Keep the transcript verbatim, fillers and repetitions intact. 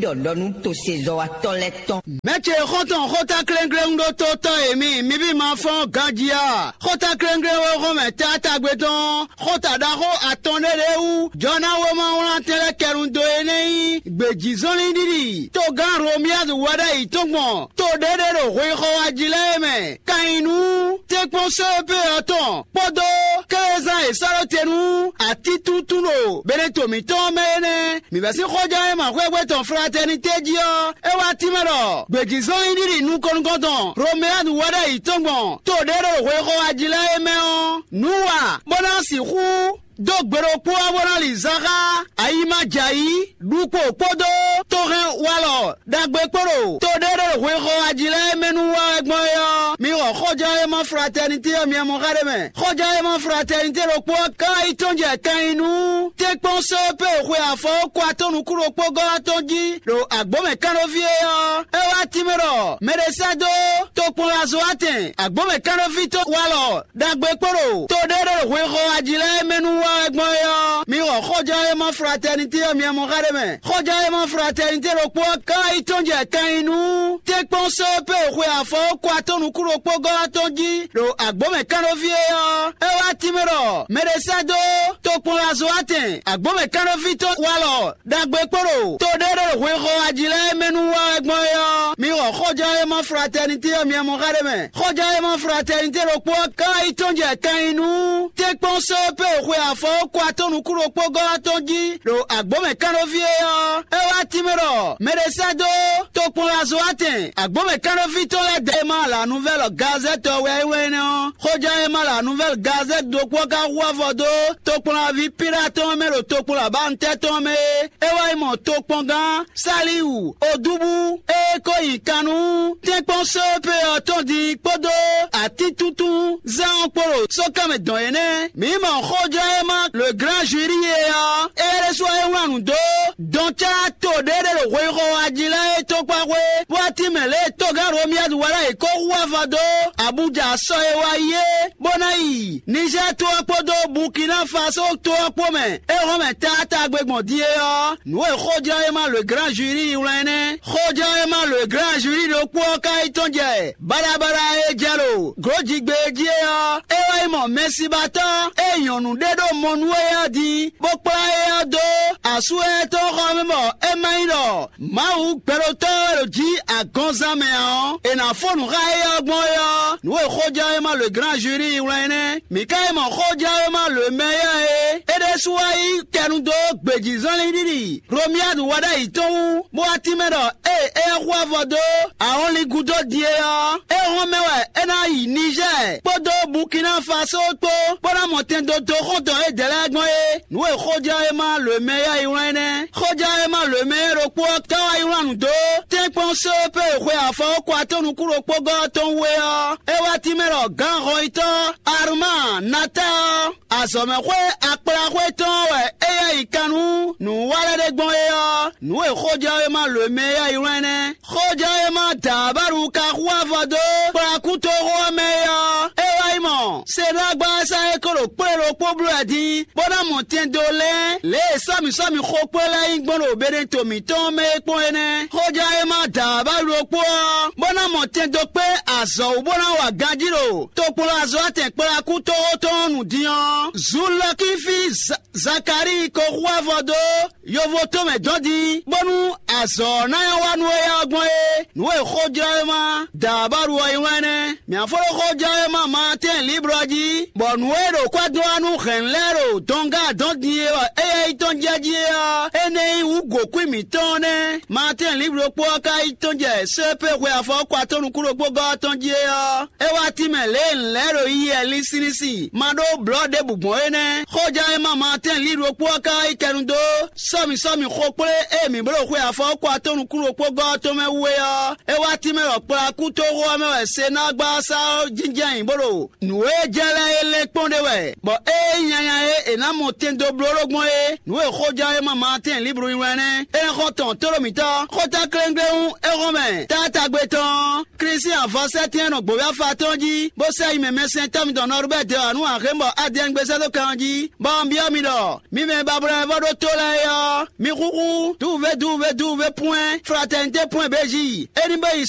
ɖɔ ɖɔ nú tosezɔ́watɔ́ lɛ́ɛ tɔn. Mɛ̌ ce xɔ́ntɔn xóta kléŋkléŋ ɖó tó tɔ́ e mi, mi ví ma fɔ́n ganjí a? Xóta kléŋkléŋ e hɔn mɛ taátagbe tɔn, xóta ɖaxó atɔn ɖé ɖě wú, jɔ ná wéma wlán tɛn lɛ́ɛ kɛnu dó é nɛ́ nyí gbějízɔnlin ɖiɖi. Togán Romiádu wɛ ɖ'ayǐ tɔn gbɔn to ɖé ɖé ɖo hwexɔ wá jí lɛ́ɛ é mɛ. Kan nyi nú tɛ́nkpɔ́n sɔ́ e pé ɔ́ tɔn kpódó kézán e sɔ́ ɖó te nú atítúntún ɖo Beneto mǐtɔn mɛ é nɛ́. Mǐ bɛ́ sín xɔján e ma xwé gbé tɔn fratɛnitɛ́ jí ɔ́, é wá tínmɛ ɖɔ gbějízɔ́n nyí ɖiɖi nukɔn nukɔn tɔn Romeanu wɛ ɖ'ayǐ tɔn gbɔn to ɖě ɖo hwexɔ wá jí lɛ́ɛ é mɛ ɔ́, nǔ wa bó ná sixú dó gbe ɖokpó ɔ́ bó ná li zan xá ayi ma jɛ ayǐ ɖukpo kpódó tóhɛn walɔ ɖagbe kpó ɖo to ɖé ɖo hwexɔ wá jí lɛ́ɛ é mɛ nú wa wɛ gbɔn é ɔ́, mi xɔ xɔján e ma fratɛnitɛ́ ɔ́ mi mɔ xá ɖé mɛ. Xɔján e ma fratɛnitɛ́ ɖokpó ɔ́ ka yi tɔ́n jɛ kan nyi nú tɛ́nkpɔ́n sɔ́ pé xwe afɔ kó atɔ́ nukún ɖokpó gɔ́ atɔ́n jí ɖo agbǒmɛ kánɖóví é ɔ́, é wá tínmɛ ɖɔ mɛ ɖé sɛ́ dó tokpɔnlazo atɛn agbǒmɛ kánɖóví tɔn walɔ ɖagbe kpó ɖo to ɖé ɖo hwexɔ ají lɛ́ɛ mɛ nú wa wɛ gbɔn é ɔ́, mi xɔ xɔján e ma fratɛnitɛ́ ɔ́ mi mɔ xá ɖé mɛ. Xɔján e ma fratɛnitɛ́ ɖokpó ɔ́ ka yi tɔ́n jɛ kan nyi nú tɛ́nkpɔ́n sɔ́ pé xwe afɔ kó atɔ́ nukún ɖokpó gɔ́ atɔ́n jí ɖo agbǒmɛ kánɖóví é ɔ́, é wá tínmɛ ɖɔ mɛ ɖé sɛ́ dó tokpɔnlazo atɛn agbǒmɛ kánɖóví tɔn walɔ ɖagbe kpó ɖo to ɖé ɖo hwexɔ ají lɛ́ɛ mɛ nú wa wɛ gbɔn é ɔ́, mi xɔ xɔján e ma fratɛnitɛ́ ɔ́ mi mɔ xá ɖé mɛ. Xɔján e ma fratɛnitɛ́ ɖokpó ɔ́ ka yi tɔ́n jɛ kan nyi nú tɛ́nkpɔ́n sɔ́ pé xwe afɔ kó atɔ́ nukún ɖokpó gɔ́ atɔ́n jí ɖo agbǒmɛ kánɖóví é ɔ́, é wá tínmɛ ɖɔ mɛ ɖé sɛ́ dó tokpɔnlazo atɛn agbǒmɛ kánɖóví tɔn lɛ́ɛ dɛ e ma la nuvɛ́lɔ gazɛ́tɔ wɛ é wɛ́n énɛ́ ɔ́. Xɔján e ma la nuvɛ́lɔ gazɛ́t ɖokpó ɔ́ ka hu avɔ dó tokpɔnlaví Pilatɔ́ mɛ ɖo tokpɔnlabánutɛ́ tɔn mɛ é. É wá yi mɔ tokpɔngán Saliwu Odúbú e ko nyi kan nú tɛ́nkpɔ́n sɔ́ pé ɔ́ tɔn din kpódó atítúntún zán ɔ́ kpó ɖo sókanmɛ dɔn é nɛ́. Mǐ mɔ xɔján e ma le gran juri é ɔ́, é ɖésú ɔ́ é wlán nǔ dó dɔn cá to ɖé ɖé ɖo hwexɔ ají lɛ́ɛ é tɔn kpá xwé, bó wá tín mɛ lě e togán Romiyadu wɛ lɛ́ɛ yě kó hu avɔ dó Abuja sɔ e wá yi é, bó ná yi Nizɛ́ɛ to ɔ́ kpódó Bukina Faso to ɔ́ kpó mɛ. É hɔn mɛ taatagbe gbɔn din é ɔ́, nǔ e xɔjlɔ́yéma le gran juri wlán é nɛ́. Xɔjlɔ́yéma le gran juri ɖokpó ɔ́ ka yi tɔn jɛ baɖabaɖa e jɛ ɖo gǒjigbe jí é ɔ́, é wá yi mɔ mɛsibatɔ́ e nyɔ̌nu ɖé ɖo mɔ nú é ɔ́ din, bó kplá éyɛ́ ɔ́ dó asú éyɛ́ tɔn xɔ mɛ bɔ é má nyí ɖɔ Mawu gbɛɖotɔ́ e ɖo jǐ agɔnzán mɛ ǎ ɔ́, è nǎ fó nǔ xá éyɛ́ ɔ́ gbɔn é ɔ́, nǔ e xójɛ́wéma le gran juri wlán é nɛ́. Mǐ ka yi mɔ xójɛ́wéma le mɛ éyɛ́ e é ɖésú wá yí kɛnu dó gbějízɔnlin ɖiɖi Romiyadu wɛ ɖ'ayǐ tɔn wú, bó wá tínmɛ ɖɔ ée éyɛ́ xú avɔ dó ahɔnlin gúdo din é ɔ́, é hɔn mɛ wɛ é ná yi Nizɛ́ɛ kpódó Bukina Faso kpó, bó ná mɔ tɛn dó dó xɔ́ntɔn édɛɛ lɛ́ɛ gbɔn é. Nǔ e xójɛ́wéma lǒmɛ yá yi wlán é nɛ́. Xójɛ́wéma lǒmɛ ɖokpó ɔ́ ka wá yi wlán nǔ dó tɛ́nkpɔ́n só pé xwe afɔ kó atɔ́ nukún ɖokpó gɔ́ tɔn wú é ɔ́, é wá tínmɛ ɖɔ gǎn hɔnyitɔ́ Aruma Nata ɔ́, azɔ̌mɛxwé akplaxwé tɔn wɛ é yá yi kan nú nǔwanlɛ́ ɖé gbɔn é ɔ́, nǔ e xójɛ́wéma lǒmɛ yá yi wlán é nɛ́. Xójɛ́wéma Dǎbáɖu ka xú avɔ dó kplakútoxo ɔ́ mɛ é ɔ́, é wá yi mɔ Senágbása e ko ɖo kplé ɖokpó bló wɛ din, bó ná mɔ tɛn dó lɛ́n lě e sɔ́mǐsɔ́mǐ xokplé lɛ́ɛ nyí gbɔn ɖo Beneto mǐtɔn mɛ é kpɔ́n é nɛ́. Xójɛ́wéma Dǎbáɖu ɖokpó ɔ́, bó ná mɔ tɛn dó kpé azɔ̌ wú bó ná wa ganjí ɖo tokplɔ́azɔ́ atɛn kplakútoxo tɔn ɔ́ nu din ɔ́, Zulɔkífi Zakalíi ko xú avɔ dó yovo tɔn mɛ dɔn din, bónú azɔ̌ ɔ́ ná nyɔ́ wa nú éyɛ́ ɔ́ gbɔn é. Nǔ e xójlɔ́wéma Dǎbáɖu ɔ́ yí wɛn nɛ́. Mǐ fó ɖó xójlɔ́wéma Maatɛ́n Liblɔ jí, bɔ nǔ e ɖo kwɛ́ dó wá nú hɛ̌nnu lɛ́ɛ ɖo dɔngá dɔn din e wɔ éyɛ́ yi tɔn jɛ jí é ɔ́, énɛ́ nyí wú gǒkwín mǐtɔn ɔ́ nɛ́. Maatɛ́n Liblɔ kpó ɔ́ ka yi tɔn jɛ sépé hwe afɔ kɔ atɔ́ nukún ɖokpó gɔ́ ɔ́ tɔn jí é ɔ́, é wá tín mɛ lě e nǔ lɛ́ɛ ɖo yiyi wɛ linsinlinsin ma ɖó blɔ̌ ɖěbǔ gbɔn é nɛ́. Xóján e ma Maatɛ́n Liblɔ kpó ɔ́ ka wá yi kɛnu dó sɔ́mǐsɔ́mǐ xokplé e mǐ bló xwe afɔ kɔ atɔ́ nukún ɖokpó gɔ́ ɔ́ tɔn mɛ wú é ɔ́, é wá tín mɛ ɖɔ kplakútoxo ɔ́ mɛ wɛ Senágbasa ɔ́ jínjɔ́n ayǐ bó ɖo nǔ e jɛ lɛ́ɛ é lɛ́ kpɔ́n ɖe wɛ, bɔ ée nyí nyanya e è nǎ mɔ tɛn dó bló ɖó gbɔn é, nǔ e xóján e ma Maatɛ́n Liblɔ nyi wɛ nɛ́. É nɛ́ xɔ tɔn tóɖó mǐtɔn, xóta kléŋkléŋ é hɔn mɛ taátagbe tɔn. Klísu avɔsɛ́tɛn e nɔ gbǒví afa tɔn jí, bó sɛ́ yi mɛ mɛsɛntɔ́ mitɔn Nɔrubɛ́ dɛ wǎ nú Axémɔ Adɛn gbézɛ́ dó kan ɔ́ jí, bɔ un byɔ́ mi ɖɔ mi mɛ e bablɔ́ wɛ vɔ́ ɖó tó lɛ́ɛ é ɔ́, mi xúxú duwuvé duwuvé duwuvé pwɛ́n fratɛnité pwɛ́n béji. É ní bó yi